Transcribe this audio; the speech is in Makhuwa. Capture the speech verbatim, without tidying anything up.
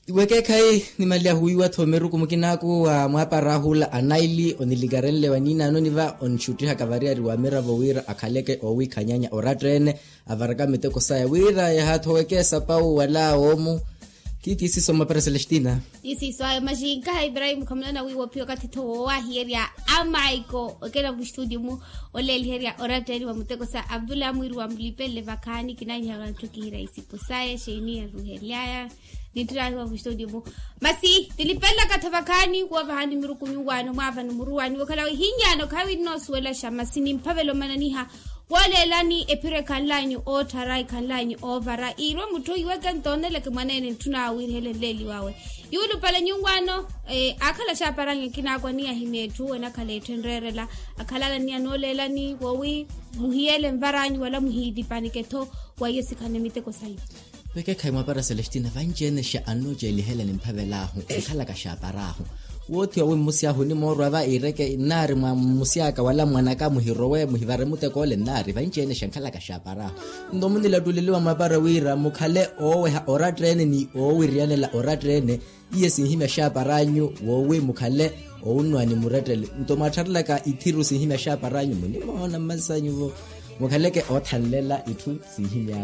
Wekeekhayi, nimalyahuwiwa-tho miruku mukinaaku wa mwaapara ahula anaili onilikarenle wa niinaano niva onixuttihaka variyari wa miravo wira akhaleke oowiikhanyanya oratta-ene, avaraka miteko saya wira yaha-tho wekeesa pawu wala woomu. Ti tiisiso mapara celestina. Tiisiso ayo maxinkaha ibrahim khamulana wiiwa ophiya okathi-tho woowahiyerya amaiko okela mustudio-mu, oleeliherya oratta-ene wa muteko saya abdullah mwiiri wa mulipelele vakhaani kinaanyiha wanttu kihira isipo saya xeiniya ruhelyaya. Nittiraahiwa mustudio-mu. Masi tilipelelaka-tho vakhaani woovahani miruku nyuwaano mwaavani muruwani wokhala wihinyaano khaawi nnoosuwelaxa masi nimphavela omananiha wooleelani ephiro ekhanlanyu ootthara ekhanlanyu oovara iirwe mutthu iweke ntooneleke mwaneene ntthuna awiirihele nleeli wawe. Yuulupale nyuwaano aakhala axaapar'anyu ekinaakwa ni ahimya etthu enakhala etthu enreerela akhalala ni anooleelani woowi muhiyele nvar'anyu wala muhiitipanike-tho wa iyo sikhane miteko sanyu. Vekekhayi mwapara celestina vanci-ene xa annoocelihelani mphavel'ahu enkhalaka xaapar'ahu. Woothi owi mmusi ahu onimoorwa va iireke nnaari mwa mmusi aka wala mwan'aka muhirowe muhivare muteko ole nnaari vanci-ene xa enkhalaka xaapar'ahu. Nto munilattuleliwa mwapara wira mukhale ooweha oratta-ene ni oowiriyanela oratta-ene. Iye sinhimya xaapar'anyu woowi mukhale owunnwani murettele nto mwaattharelaka ithiru sinhimya xaapar'anyu munimoona mmasanyu-vo. Mukhaleke oothanlela itthu sinhimya.